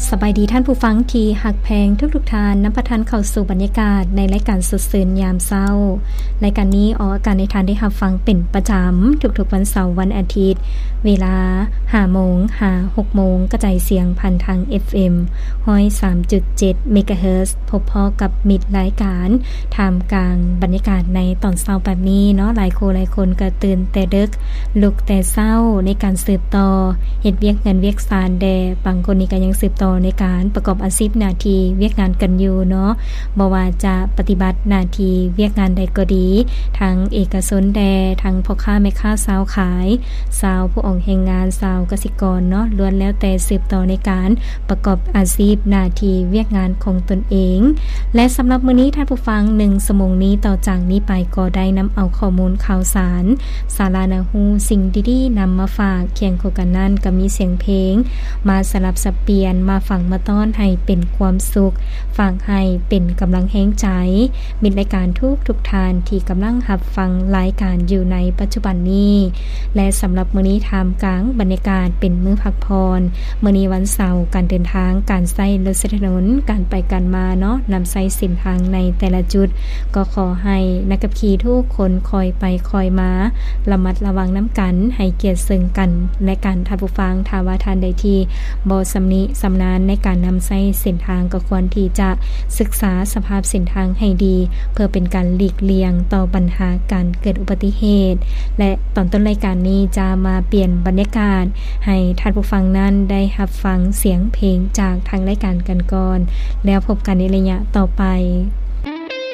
ສະບາຍດີທ່ານຜູ້ຟັງທີ່ຮັກແພງທຸກໆທ່ານ, ນຳພາທ່ານເຂົ້າສູ່ບັນຍາກາດໃນລາຍການສົດຊື່ນຍາມເຊົ້າ. ລາຍການນີ້ອອກອາກາດໃຫ້ທ່ານໄດ້ຮັບຟັງເປັນປະຈຳທຸກໆວັນເສົາ, ວັນອາທິດ, ເວລາຫ້າໂມງຫາຫົກໂມງ, ກະຈາຍສຽງຜ່ານທາງ ເອັຟເອັມຮ້ອຍສາມຈຸດເຈັດເມກາເຮີດ, ພົບພໍ້ກັບມິດລາຍການ ທ່າມກາງບັນຍາກາດໃນຕອນເຊົ້າແບບນີ້ເນາະ, ຫຼາຍຄູ່ຫຼາຍຄົນກໍຕື່ນແຕ່ເດິກ, ລຸກແຕ່ເຊົ້າໃນການສືບຕໍ່ເຮັດວຽກເຮືອນວຽກຊານແດ່, ບາງຄົນນີ້ກໍຍັງສືບຕໍ່ໃນການປະກອບອາຊີບໜ້າທີ່ວຽກງານກັນຢູ່ເນາະ, ບໍ່ວ່າຈະປະຕິບັດໜ້າທີ່ວຽກງານໃດກໍດີ, ທັງເອກະຊົນແດ່, ທັງພໍ່ຄ້າແມ່ຄ້າຊາວຂາຍ, ຊາວຜູ້ອອກແຮງງານ, ຊາວກະສິກອນເນາະ, ລ້ວນແລ້ວແຕ່ສືບຕໍ່ໃນການປະກອບອາຊີບໜ້າທີ່ວຽກງານຂອງຕົນເອງ. ແລະ ສຳລັບມື້ນີ້ທ່ານຜູ້ຟັງ, ໜຶ່ງຊົ່ວໂມງນີ້ຕໍ່ຈາກນີ້ໄປກໍໄດ້ນຳເອົາຂໍ້ມູນຂ່າວສານ, ສາລະໜ້າຮູ້, ສິ່ງດີໆນຳມາຝາກ, ຄຽງຄູ່ກັນນັ້ນກໍມີສຽງເພງມາສະຫຼັບສັບປ່ຽນ, ມາຝາກມາຕ້ອນໃຫ້ເປັນຄວາມສຸກ, ຝາກໃຫ້ເປັນກຳລັງແຮງໃຈ ມິດລາຍການທຸກໆທ່ານທີ່ກຳລັງຮັບຟັງລາຍການຢູ່ໃນປັດຈຸບັນນີ້. ແລະ ສຳລັບມື້ນີ້ທ່າມກາງບັນຍາກາດເປັນມື້ພັກຜ່ອນ, ມື້ນີ້ວັນເສົາ, ການເດີນທາງ, ການໃຊ້ລົດໃຊ້ຖະໜົນ, ການໄປການມາເນາະ, ນຳໃຊ້ເສັ້ນທາງໃນແຕ່ລະຈຸດ, ກໍຂໍໃຫ້ນັກຂັບຂີ່ທຸກຄົນຄ່ອຍໄປຄ່ອຍມາ, ລະມັດລະວັງນຳກັນ, ໃຫ້ກຽດເຊິ່ງກັນແລະກັນ. ທ່ານຜູ້ຟັງ, ຖ້າວ່າທ່ານໃດທີ່ບໍ່ຊຳນິຊຳນານໃນການນຳໃຊ້ເສັ້ນທາງ, ກໍຄວນທີ່ຈະສຶກສາສະພາບເສັ້ນທາງໃຫ້ດີ, ເພື່ອເປັນການຫຼີກລ່ຽງຕໍ່ບັນຫາການເກີດອຸບັດຕິເຫດ. ແລະ ຕອນຕົ້ນລາຍການນີ້ຈະມາປ່ຽນບັນຍາກາດໃຫ້ທ່ານຜູ້ຟັງນັ້ນໄດ້ຮັບຟັງສຽງເພງຈາກທາງລາຍການກັນກ່ອນ, ແລ້ວພົບກັນໃນໄລຍະຕໍ່ໄປ.